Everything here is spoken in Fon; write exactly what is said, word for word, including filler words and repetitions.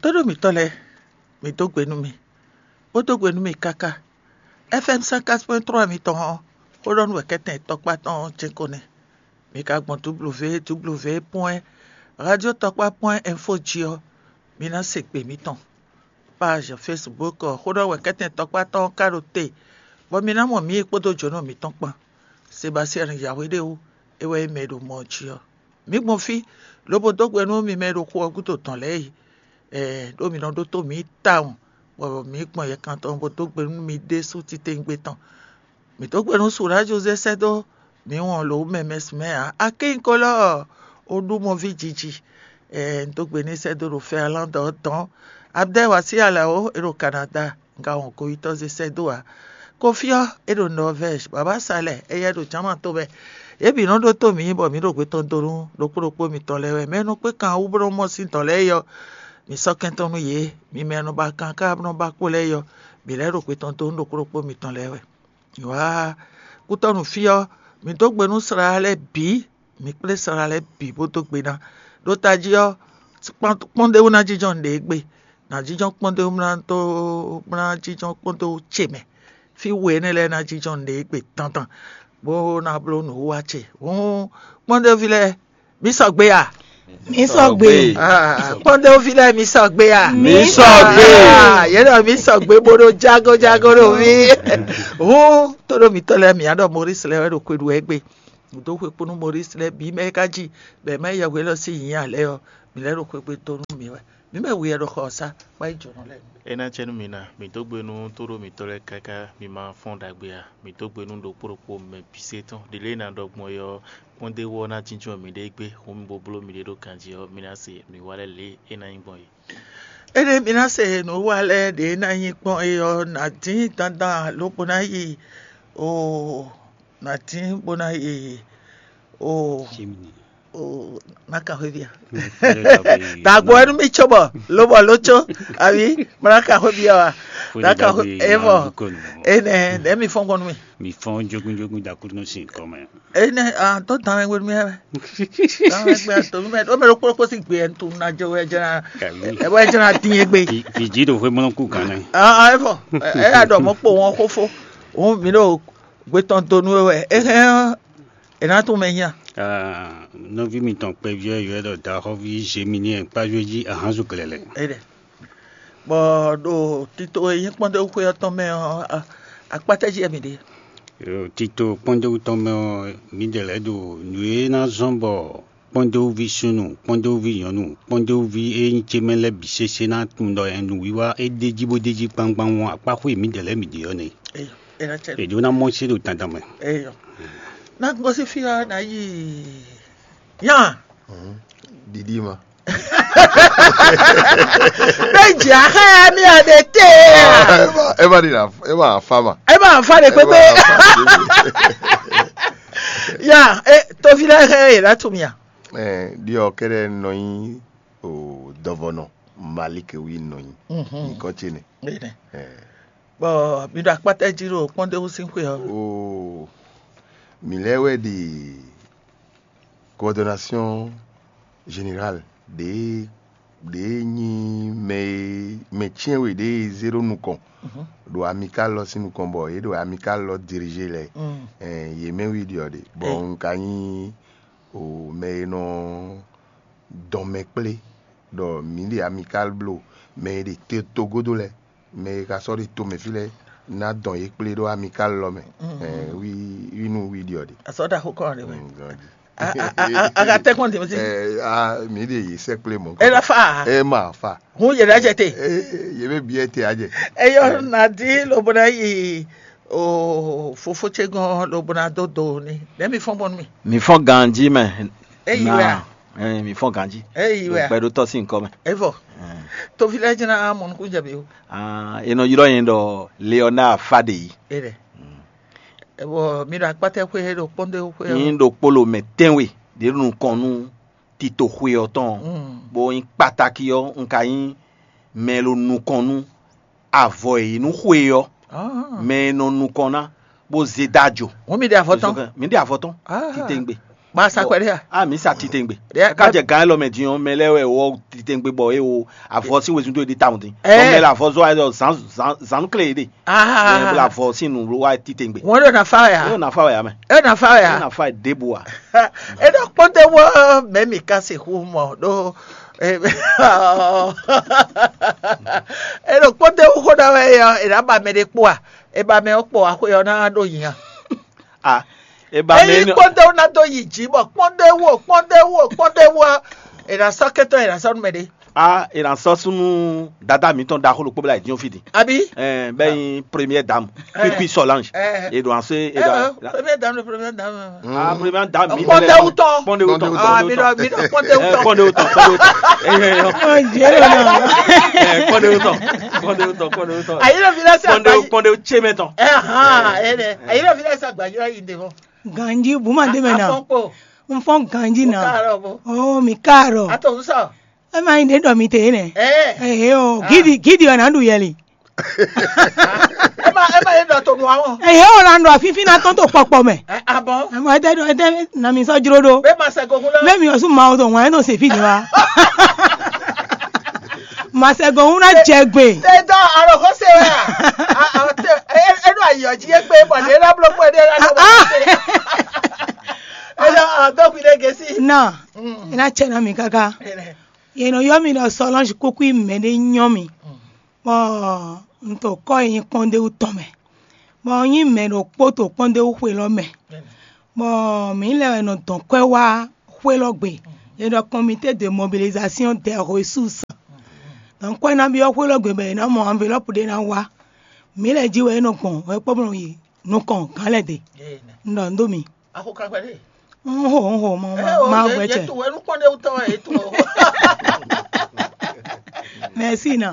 Tóɖó mǐtɔn lɛ́ɛ, mǐ dó gbe nú mi, bó dó gbe nú mi káká. F M cent quatre point trois mitɔn ɔ́, xó ɖɔ nú wɛ̌kɛ́tɛn tɔkpá tɔn ɔ́ jɛ́n ko nɛ́. Mi ka gbɔn W W W point radio tɔkpá point info jí ɔ́, mi ná se gbe mǐtɔn. Page Facebook ɔ́, xó ɖɔ wɛ̌kɛ́tɛn tɔkpá tɔn ɔ́ ka ɖo te, bɔ mi ná mɔ mǐ kpódó jǒnɔ mǐtɔn kpán. Sebastian Yahweh ɖé wú, é wɛ nyí mɛ e ɖo mɔ ɔ́ jí ɔ́. Mǐ gbɔn fí, lobo dó gbe nú mi mɛ e ɖo xu ɔ́ gúdo tɔn lɛ́ɛ yi. Ɛɛ, ɖó mi nɔ ɖótó mǐ tawun, bɔ mǐ gbɔn yɛkan tɔn bó dó gbe nú mi ɖésú titewungbe tɔn. Mǐ dó gbe nú Suɖá Jozɛ́ sɛ́ dó mǐ wɔn lǒ mɛ mɛsumɛ ǎ. Akínkolɔ́ Oɖúmɔví jiji, ɛɛ, un dó gbe n'i sɛ́ dó ɖo Fɛnlande ɔ́ dɔn. Abdɛ́ Wasí Alao, é ɖo Kanada, un ka wɔn goyítɔ́ zé sɛ́ dó ǎ. Kofi ɔ́, é ɖo Norvège, Baba Salɛ, éyɛ́ ɖo Jǎman tomɛ. Yě bǐ nɔ ɖótó mǐ bɔ mǐ ɖo gbetɔ́ndonu ɖokpó ɖokpó mitɔn lɛ́ɛ wɛ. Mɛ e nɔ kpé kan wú bó nɔ mɔ sín dɔ̌n lɛ́ɛ é ɔ́, mi sɔ́ kɛn tɔn nú yě. Mi mɛ e nɔ ba kan ká nɔ ba kpo lɛ́ɛ é ɔ́, mǐ lɛ́ ɖo gbetɔ́ndonu ɖokpó ɖokpó mitɔn lɛ́ɛ wɛ. Wǎ kútɔ́nú fí ɔ́, mǐ dó gbe nú slá lɛ́ɛ bǐ, mǐ kplé slá lɛ́ɛ bǐ bó dó gbe ná. Ɖó tají ɔ́, kpɔ́ndéwú ná jínjɔ́n nǔɖé gbe, nǎ jínjɔ́n kpɔ́ndéwú ná dó ná jínjɔ́n kpɔ́ndéwú ce mɛ. Fí we énɛ́ lɛ́ɛ ná jínjɔ́n nǔɖé gbe dandan, bó ná bló nǔwiwa ce. Hǔn kpɔ́ndéwúví lɛ́ɛ, mǐ sɔgbe a? Mǐ sɔgbe. Ah, kpɔ́ndéwúví lɛ́ɛ, mǐ sɔgbe a? Mǐ sɔgbe. Ah, yě ɖɔ mǐ sɔgbe bó ɖó jágójágó ɖo mí. Hǔn tóɖó mǐtɔn lɛ́ɛ mǐ á ɖɔ Maurice lɛ́ɛ wɛ ɖo xwe ɖu wɛ gbé. Nǔ dó xwe kpónú Maurice lɛ́ɛ bǐ mɛ e ka jí bɔ è má yi yɛhwe élɔ́ sín nyǐ ǎ lɛ́ɛ ɔ́, mǐ lɛ́ ɖo xwegbe dó nú mǐ wɛ. Mǐ mɛ wi wɛ ɖo xɔ ɔ́ sá, bó yi jǒnɔ lɛ́ɛ. É ná acɛ nú mi ná, mǐ dó gbe nú tóɖó mǐtɔn lɛ́ɛ káká, mi ma fɔ́n ɖagbe ǎ. Mǐ dó gbe nú ɖokpó ɖokpó mɛ bǐ se tɔn. Ɖě lě e è nǎ ɖɔ gbɔn é ɔ́, kpɔ́ndéwú ɔ́ ná jínjɔ́n mǐɖée gbé, hǔn mi bo bló mǐɖée ɖó ganjí ɔ́, mi ná se nǔwiwa lɛ́ɛ lě e é ná nyí gbɔn é. Énɛ́ mi ná se nǔwiwa lɛ́ɛ ɖě ná nyí gbɔn é ɔ́, nǎ dín dandan lobo ná yi o, nǎ dín bó ná yi o. O, ná ka xwé bia. Dagbo ɛnu mi tso bɔ lobɔ ló tso abi mɔ ná ka xwé bia wa. Ná ka xwé evɔ. Enɛ ɖe mi fɔn gbɔn nú mi. Mi fɔn jogun jogun da kúrú nɔ sin kɔmɛ. Enɛ ah tó dan wɛ mi wɛ. Dan wɛ gbɛ to mi mɛ o mɛ ló kpó kpó si gbɛ tu na jɔ wɛ jɛna. Ɛ wɛ jɛna tin ye gbe. Fiji ɖo xwé mlɔn kú gan nɛ. Ah ah evɔ. Ɛ ya dɔ mɔ kpó wọn xófó. Òun mi ɖo gbé tɔn donu wɛ. Ehɛn. È nǎ tunwun mɛ nya. Nɔví mitɔn kpɛví ɔ́ ylɔ́ ɖɔ Daxɔ́ví Zeminiyɛn kpájúwe jí ahánzú glɛ̌lɛ̌. Bɔ ɖo tito e nyí kpɔ́ndéwúxwé ɔ́ tɔn mɛ ɔ́, akpátá jí wɛ mǐ ɖe. Tito kpɔ́ndéwú tɔn mɛ ɔ́, mǐdɛɛ lɛ́ɛ ɖo nǔ e ná zɔ́n bɔ kpɔ́ndéwúví súnnu, kpɔ́ndéwúví nyɔ̌nu, kpɔ́ndéwúví e nyí ce mɛ lɛ́ɛ bǐ sésé ná tunwun ɖɔ nǔwiwa e ɖ'é jí bó ɖ'é jí gbangban ɔ́, akpáxwé e mǐdɛɛ lɛ́ɛ mǐ ɖe ɔ́ nɛ́. È ɖó ná mɔ sí ɖo dandan mɛ. Ná gosín fí ɔ́ ná yi yán. Ɖiɖi ma. Bɛ dza xɛ mi a ɖe te. Ema ɖi na ema afa ma. Ema afa ɖe kpekpe. Ya e tovi lɛ xɛ e la tu mia. Ɛ ɖiɔ kɛɖɛ nɔ nyi o dɔvɔnɔ Malik wi nɔ nyi. Nyikɔ ce ne. Bɔ mi ɖo akpátá jí ɖo kpɔ́ndéwú sín xwe ɔ́. Oo, mǐ lɛ́ wɛ ɖi coordination générale ɖě ɖě nyí mɛ e mɛ cyɛ́nwe ɖě e zé ɖó nukɔn ɖo Amicale lɔ sín nukɔn bɔ yě ɖo Amicale lɔ dirigé lɛ. Ɛn, yě mɛ wi ɖi ɔ́ ɖe bɔ un ka nyí o mɛ e nɔ dɔn mɛ kplé ɖɔ mǐ ɖe Amicale bló mɛ e ɖe te togodo lɛ́ɛ mɛ e ka sɔ́ ɖo tomɛ fí lɛ́ɛ ná dɔn yě kplé ɖó Amicale lɔ mɛ. Wi wi nú wi ɖi ɔ́ ɖe. Asɔ ɖaxó kɔ ɖe mɛ. Aga tɛ kɔn tɛmɛ si. Mǐ ɖe yě sɛkplé mɔ. E la fa. E ma fa. Hun yɛ ɖe jɛ te. Yě bɛ biɛ te a jɛ. Eyɔ na di lobo na yi o fofo ce gɔn lobo na do do ni. Ɖe mi fɔn bɔnu mi. Mi fɔn ganji mɛ. Eyi wɛ a. Ɛɛ, mi fɔn ganji. Eyi wɛ a. Gbɛɖotɔ si nkɔ mɛ. Evɔ. Tovi lɛ jɛna mɔnukun jɛ bi o. Ah, e nɔ ylɔ yẹn ɖɔ Leonard Fadeyi. E ɖɛ. Evɔ mi ɖo akpatɛ xwe ɖo kpɔnde xwe. Yin ɖo kpolo mɛ tɛnwe ɖe nukɔn nú tito xwe ɔ́ tɔn. Bo yin kpataki ɔ́, un ka yin mɛ lo nukɔn nú avɔ e yi nú xwe ɔ́. Mɛ e nɔ nukɔn ná bó zé dá jo. Wọn mi ɖe avɔ tɔn. Mi ɖe avɔ tɔn. Titengbe. Ma sa kwɛɖe a? A mǐ sa titewungbe. Ɖe- Ká jɛ gǎn élɔ́ mɛ din ɔ́, mɛ lɛ́ɛ wɛ wɔ titewungbe bɔ é wo avɔ sín wezun dó é ɖi tawun dín. Ɛ. Bɔ mɛ lɛ avɔ zɔ wá ɖɔ zǎn zǎn zǎn nú klé yě ɖe. Aa. Bɔ avɔ sín nǔ wá titewungbe. Wọ́n ɖo na fa wɛ É a? Na fa wɛ ame. É na fa wɛ É a? Na fa ɖěbǔ a. É ɖɔ kpɔ́ndé wɔ mɛ mi ka se hu mɔ ɖo. É ɖo kpɔ́ndé wɔ xó ɖa wɛ é ɔ́, é ná ba mɛ ɖé kpó a? É ba mɛ ɔ́ kpó a xwé ɔ́ ná ɖo nyi a? A e ba mɛ Eyi énɛ́ kpɔ́ndé wɔ ná dó yi jǐ bɔ kpɔ́ndé wɔ kpɔ́ndé wɔ kpɔ́ndé wɔ. É ná sɔ́ kɛntɔ́ é ná sɔ́ nú mɛ ɖé. A e na sɔ́ súnú dada mǐtɔn ɖaxó ɖokpó bla yi dín fí din. Abi. Ɛɛ bɛ nyi première dame, Kpikpi Solange. Ɛɛ. E ɖo ase e ɖo. Ɛɛ, première dame, première dame. Ah, première dame mi Kpɔndéwutɔ. Kpɔndéwutɔ. Ah, mi ɖɔ mi ɖɔ kpɔndéwutɔ. Kpɔndéwutɔ, kpɔndéwutɔ. Ɛɛ, ɛɛ, ɛɛ. Ɔjɛlɛ na. Ɛɛ, kpɔndéwutɔ. Kpɔndéwutɔ, kpɔndéwutɔ. Ayi lɔ fi lɛ se Kpɔndéwu agbayi. Kpɔndéwu tse mɛ tɔn. Ɛɛ, hàn, ɛnɛ. Ayi lɔ fi lɛ se agbayi lɔ yi de fɔ. Ganji buma de mɛ na. Afɔnkpo. N fɔn ganji na. Kaarɔ bo. Oh, mi kaarɔ. Ato sɔ. E ma yin ɖe ɖɔ mi te nɛ. Ɛɛ. Ehe o, gidi gidi wɛ na ɖu yɛli. E ma e ma ye ɖɔ to nu awɔ. Ehe o la ɖɔ fífín na tɔn to kpɔkpɔ mɛ. Ɛ abɔ. E ma ete ɖɔ ete na mi sɔ jro ɖo. Be ma sɛ gogun lɔ. Be mi o su ma o to ŋwa e to se fi de wa. Ma sɛ gogun na jɛ gbe. Te dɔ alo ko se wɛ a. A a te e e ɖo ayɔ ji e gbe bɔ ɖe la blo kpɛ ɖe la ɖo ko se. E ɖo a dɔ gbi ɖe gesi. Na. Mm. E na cɛ na mi kaka. Ele. Yě nɔ ylɔ́ mì ɖɔ Solange Kúkú yi mɛ ɖé nyɔ́ mì, bɔ un to kɔ́ e nyí kpɔ́ndéwú tɔn mɛ, bɔ un nyí mɛ ɖokpó to kpɔ́ndéwú xwe lɔ mɛ, bɔ mǐ lɛ́ wɛ nɔ dɔn kwɛ́ wá xwé lɔ gbe. È ɖɔ comité de mobilisation des ressources. Donc kwɛ́ ná byɔ́ xwé lɔ gbe bɔ è nǎ mɔ enveloppe ɖé ná wá. Mǐ lɛ́ jí wɛ é nɔ gbɔn wɛ kpɔ́ bɔ yi nukɔn gǎn lɛ́ ɖe. Un ɖɔ nǔ dó mi. Axo kan kpɛɖé. Un xo un xo ma ma ma gbɛ cɛ. Yetu wɛ nukpɔn ɖe wutɔ wɛ yetu o. Merci na.